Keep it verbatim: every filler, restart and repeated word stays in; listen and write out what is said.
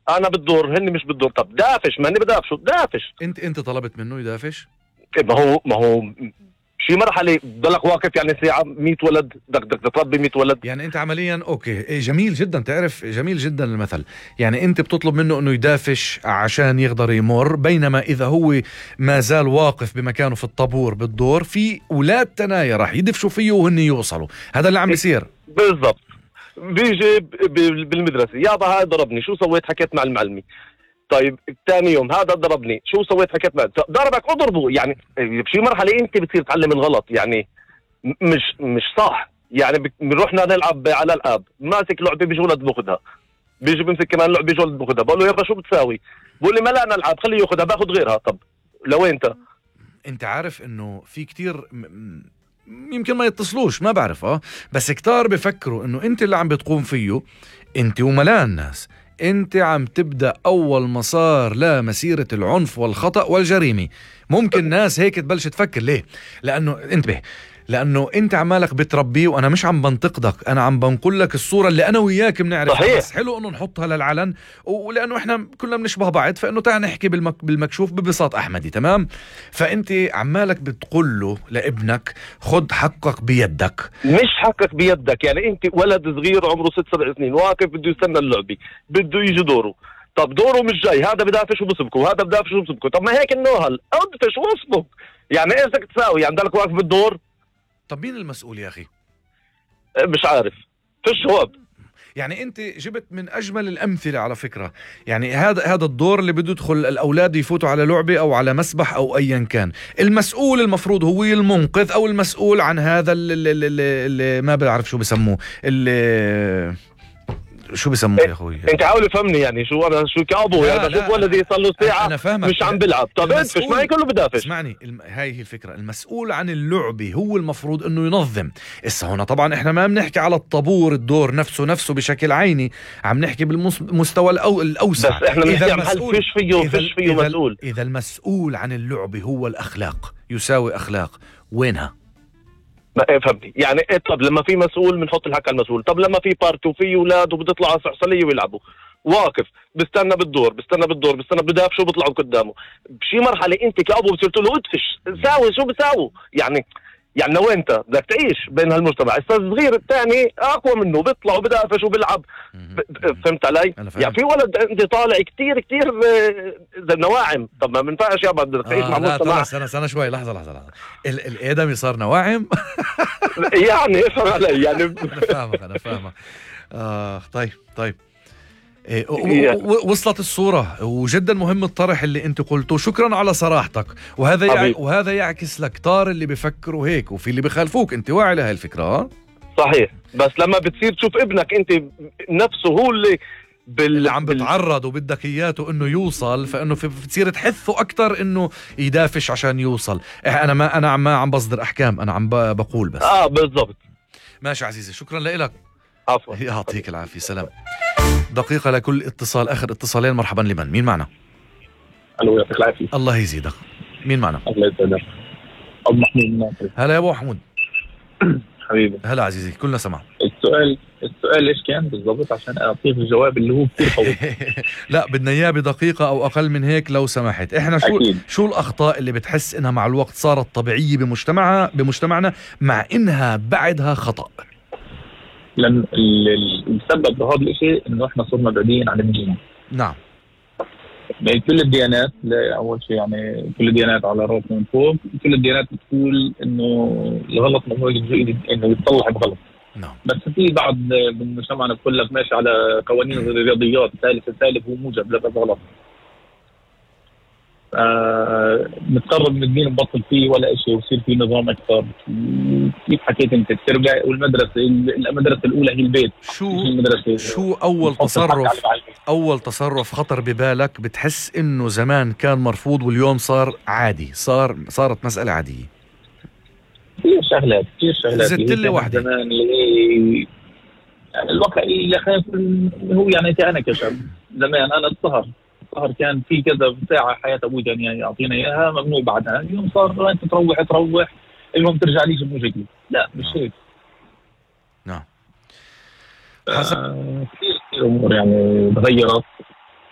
انا بالدور هن مش بالدور. طب دافش، ما هني بدافشوا دافش. انت انت طلبت منه يدافش؟ ما هو ما هو شي مرحله ضلك واقف يعني ساعه مية ولد بدك بدك تربي مية ولد. يعني انت عمليا اوكي جميل جدا، تعرف جميل جدا المثل. يعني انت بتطلب منه انه يدافش عشان يقدر يمر، بينما اذا هو ما زال واقف بمكانه في الطابور بالدور في اولاد تنايا راح يدفشوا فيه وهن يوصلوا. هذا اللي عم بيصير بالضبط. بيجي بالمدرسه يابا هاي ضربني، شو سويت؟ حكيت مع المعلمه. طيب ثاني يوم هذا ضربني، شو سويت؟ حكيت معه. ضربك اضربه. يعني بشي مرحله انت بتصير تعلم الغلط. يعني مش مش صح. يعني بنروحنا نلعب على الاب، ماسك لعبه بيجي ولد باخذها، بيجي بمسك كمان لعبه بيجي ولد باخذها، بقول له يابا شو بتساوي؟ بقول لي ما لا نلعب خليه ياخذها، باخذ غيرها. طب لوين انت؟ انت عارف انه في كتير يمكن ما يتصلوش، ما بعرف اه بس كتار بفكروا انه انت اللي عم بتقوم فيه، انت وملان الناس، انت عم تبدأ اول مسار لمسيرة العنف والخطأ والجريمة. ممكن ناس هيك تبلش تفكر. ليه؟ لانه انتبه، لانه انت عمالك بتربيه، وانا مش عم بنتقدك، انا عم بنقول لك الصورة اللي انا وياك بنعرفها. بس حلو انه نحطها للعلن، ولانه احنا كلنا بنشبه بعض، فانه تعال نحكي بالمك بالمكشوف ببساط احمدي. تمام؟ فانت عمالك بتقول له لابنك خد حقك بيدك. مش حقك بيدك. يعني انت ولد صغير عمره ست سبع سنين واقف بده يستنى اللعبة، بده يجي دوره. طب دوره مش جاي، هذا بدافش وبسبكه وهذا بدافش وبسبكه. طب ما هيك النوهل، ادفش واصبك. يعني ايش بدك تساوي؟ يعني ضلك واقف بالدور. طب مين المسؤول يا أخي؟ مش عارف، فيش جواب. يعني أنت جبت من أجمل الأمثلة على فكرة. يعني هذا هذا الدور اللي بده يدخل الأولاد يفوتوا على لعبة أو على مسبح أو أيا كان، المسؤول المفروض هو المنقذ أو المسؤول عن هذا اللي, اللي, اللي ما بعرف شو بسموه، اللي شو بسموه يا اخوي. انت حاول تفهمني يعني شو انا شو كابو. يعني بشوف ولدي صار له ساعه أنا فاهمك. مش عم بلعب. طب انت مش معي كله بدافش. اسمعني، الم... هاي هي الفكره. المسؤول عن اللعبه هو المفروض انه ينظم. اسا هنا طبعا احنا ما بنحكي على الطابور الدور نفسه نفسه بشكل عيني، عم نحكي بالمستوى الأو... الاوسع. بس احنا بنحكي عن هل فيش فيه فيش فيه إذا مسؤول. اذا المسؤول عن اللعبه هو الاخلاق، يساوي اخلاق، وينها؟ ما فهمتني يعني إيه؟ طب لما في مسؤول بنحط الحق على المسؤول. طب لما في بارتي وفي اولاد وبتطلع على صحصليه ويلعبوا، واقف بستنى بالدور بستنى بالدور بستنى بدافش وبيطلعوا قدامه. بشي مرحله انت كابو بصير تقول له ادفش ساوي شو بساووا. يعني يعني لو انت بدك تعيش بين هالمجتمع، الصغير الثاني اقوى منه بيطلع وبدافش وبيلعب. فهمت علي؟ يعني في ولد عندي طالع كتير كتير زي نواعم. طب ما بنفعش يابا بدك تعيش آه مع مجتمع. سنة سنة شوي لحظة لحظة لحظة ال الادمي صار نواعم. يعني افهم علي يعني. انا فاهمك انا فاهمك. اه طيب طيب إيه وصلت الصورة، وجدا مهم الطرح اللي انت قلته. شكرا على صراحتك. وهذا يع... وهذا يعكس لك كتار اللي بيفكروا هيك وفي اللي بيخالفوك. انت واعي لهي الفكرة؟ اه صحيح. بس لما بتصير تشوف ابنك انت نفسه هو اللي بال... اللي عم بتعرض وبدك اياته انه يوصل، فانه في بتصير تحثه اكتر انه يدافش عشان يوصل. انا ما انا ما عم بصدر احكام، انا عم بقول بس. اه بالضبط. ماشي عزيزي، شكرا لك. عفوا. يعطيك العافية. سلام. دقيقة لكل اتصال. آخر اتصالين. مرحبا. لمن؟ مين معنا؟ الو يعطيك العافية. الله يزيدك. مين معنا؟ الله يسعدك. أبو محمود الناصري. هلا يا أبو محمود. حبيبي. هلا عزيزي، كلنا سمع. السؤال السؤال ايش كان بالضبط عشان اعطيك الجواب اللي هو كثير قوي. لا بدنا اياه بدقيقة او اقل من هيك لو سمحت. احنا شو أكيد. شو الاخطاء اللي بتحس انها مع الوقت صارت طبيعية بمجتمعها بمجتمعنا مع انها بعدها خطأ؟ لأن السبب بهذا الشيء إنه إحنا صرنا بعيدين عن الدين. نعم. يعني كل الديانات، أول شيء يعني كل الديانات على رأس من فوق، كل الديانات بتقول إنه الغلط ما هو إنه يتصلح بغلط. نعم. بس في بعض من مجتمعنا بقول لك ماشي على قوانين الرياضيات، ثالث الثالث هو موجب، لا بس غلط. آه نتقرب من الدين نبطل فيه ولا شيء ويصير فيه نظام اكثر. كيف حكيت انت التربيه والمدرسه المدرسه الاولى هي البيت. شو شو اول تصرف اول تصرف خطر ببالك بتحس انه زمان كان مرفوض واليوم صار عادي، صار صارت مساله عاديه؟ كثير شغلات كثير شغلات زدت لي واحده زمان اللي هي يعني الواقع اللي خايف هو يعني انا كشاب زمان انا السهر السهر كان في كذا ساعة حياة أبوي كان يعني يعطينا إياها ممنوع بعدها. اليوم صار أنت تروح تروح المهم ترجع ليش الموجودين. لا مش هيك. نعم. حسب كثير كثير أمور يعني تغيرت